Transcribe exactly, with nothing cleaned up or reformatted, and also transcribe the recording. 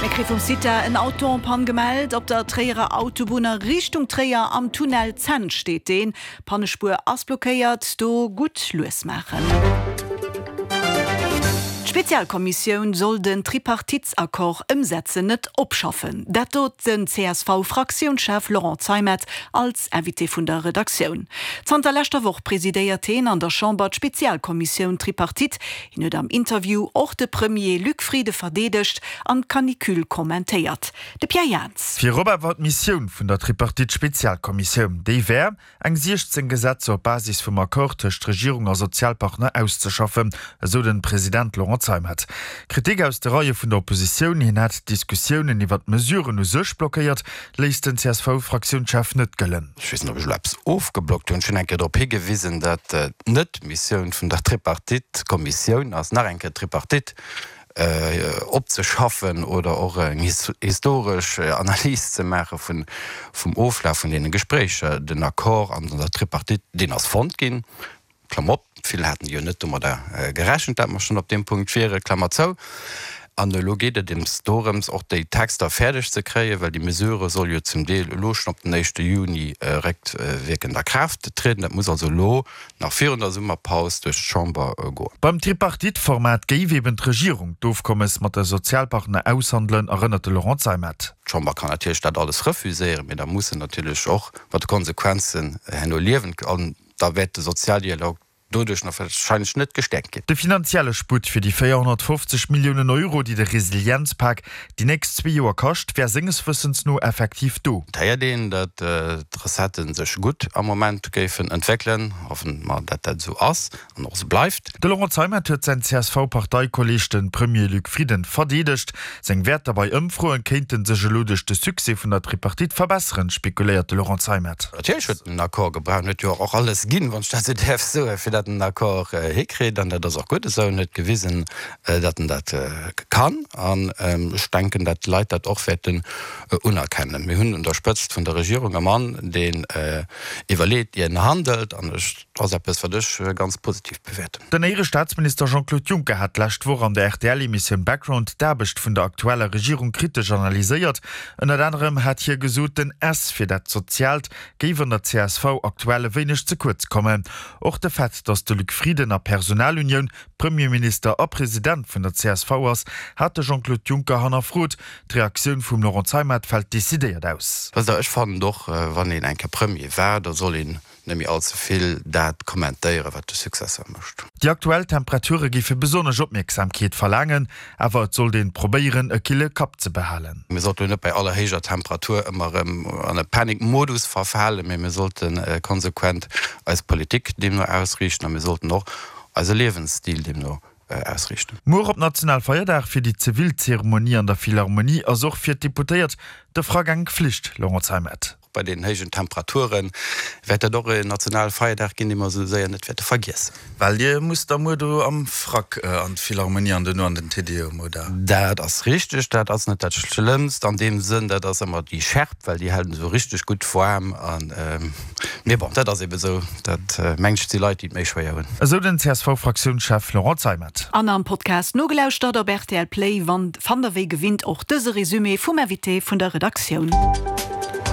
Mir kréie vum CITA en Auto en panne gemellt. Op der Tréierer Autobunn a Richtung Tréier am Tunnel Zent steet deen. D'Pannespuer ass blockéiert, do gutt lues maachen. D'Spezialkommissioun soll den Tripartitesaccord ëmsetzen, net opschaffen. Dat sot den C S V-Fraktiounschef Laurent Zeimet als Invité vun der Redaktioun. Zanter leschter Woch presidéiert hien an der Chamber d'Spezialkommissioun Tripartite. Hien huet am Interview och de Premier Luc Frieden verdeedegt an d'Canicule kommentéiert. De Pierre Jans. Virop awer d'Missioun vun der Tripartite-Spezialkommissioun, déi wär, eng siechzéng Gesetzer op Basis vum Accord tëscht Regierung a Sozialpartner auszeschaffen, esou de President Laurent Zeimet. Kritik aus de Reie vun der Oppositioun, hien hätt d'Diskussiounen iwwer d'Mesuren u sech blockéiert, léisst den C S V-Fraktiounschef net gëllen. Ech weess net, ob ech elo eppes ofgeblockt hunn. Ech hunn eng Kéier drop higewisen, datt et net d'Missioun vun der Tripartite-Kommissioun ass, nach eng Kéier d'Tripartite opzeschaffen oder och eng historesch Analys ze maache vum Oflaf vun deene Gespréicher. Den Accord an der Tripartite, deen ass fonnt ginn, Klammer op, vill haten jo net domadder gerechent, dat mer schonn op deem Punkt wieren, Klammer zou. An elo geet et ems dorëms, och déi Texter fäerdeg ze kréien, well déi Mesure soll jo zum Deel elo schonn op den éischte Juni réckwierkend a Kraaft trieden. Dat muss also elo nach virun der Summerpaus duerch d'Chamber goen. Beim Tripartite-Format géif eben d'Regierung d'Ofkommes mat de Sozialpartner aushandelen, erënnert de Laurent Zeimet. D'Chamber kann natierlech dat alles refuséieren, mee da muss se natierlech och mat de Konsequenzen herno liewen an da wäert de Sozialdialog doduerch nach warscheinlech net gestäerkt ginn. De finanzielle Sputt fir déi véierhonnertfofzeg Milliounen Euro, déi de Resilienzpak déi nächst zwee Joer kascht, wär senges Wëssens no effektiv do. Et héiert een, datt d'Recetten sech gutt am Moment géifen entwéckelen. Hoffen mer, datt dat esou ass an och esou bleift. De Laurent Zeimet huet säin C S V-Parteikolleeg, de Premier Luc Frieden, verdeedegt. Seng Wäerter bei Ëmfroen kéinte sech elo duerch de Succès vun der Tripartite verbesseren, spekuléiert de Laurent Zeimet. Natierlech huet en en Accord gebraucht en huet jo och alles ginn, wann ech dat esou däerf soen, fir datt en en Accord hikritt. An dat ass och gutt esou. En huet gewisen, datt en dat kann. An ech denken, datt d'Leit dat och wäerten unerkennen. Mir hunn un der Spëtzt vun der Regierung e Mann, deen iwwerleet, ier en handelt. An ech, dat ass eppes, wat ech ganz positiv bewäerten. Den éiere Staatsminister Jean-Claude Juncker hat d'lescht Woch an der R T L-Emissioun Background d'Aarbecht vun der aktueller Regierung kritesch analyséiert. Ënnert anerem hat hie gesot, den S fir dat Soziaalt géif an der C S V aktuell e wéineg ze kuerz kommen. Och de Fait, datt de Luc Frieden a Personalunioun Premierminister a President vun der C S V ass, hat de Jean-Claude Juncker hannerfrot. D'Reaktioun vum Laurent Zeimet fält decidéiert aus. Wësst Der, ech fannen och, wann een eng Kéier Premier war, da soll een net méi allze vill dat kommentéieren, wat de Successeur mécht. Déi aktuell Temperature géife besonnesch Opmierksamkeet verlaangen, awer et sollt een probéieren, e kille Kapp ze behalen. Mir sollten net bei aller héijer Temperatur ëmmer erëm an e Panikmodus verfalen, mee mir sollte konsequent eis Politik deemno ausriichten a mir sollten och eise Liewensstil deemno ausriichten. Muer op Nationalfeierdag fir déi zivil Zeremonie an der Philharmonie ass och fir d'Deputéiert de Frack eng Flicht, Laurent Zeimet. Bei deenen héijen Temperature wäert dat och en Nationalfeierdag ginn, dee mer esou séier net wäerte vergiessen. Well Dir musst da muer do am Frack an d'Philharmonie an duerno an den Te Deum, oder? Dat ass richteg. Dat ass net dat Schlëmmst an deem Sënn. Dat ass ëmmer déi Schärp, well déi hält en esou richteg gutt waarm. An, mee bon, dat ass ebe sou. Dat mengt ech, si Leit, déi et méi schwéier hunn. Esou den C S V-Fraktiounschef Laurent Zeimet. An am Podcast nogelauschtert op R T L Play fannt der wéi gewinnt och dëse Resumé vum Invité vun der Redaktioun.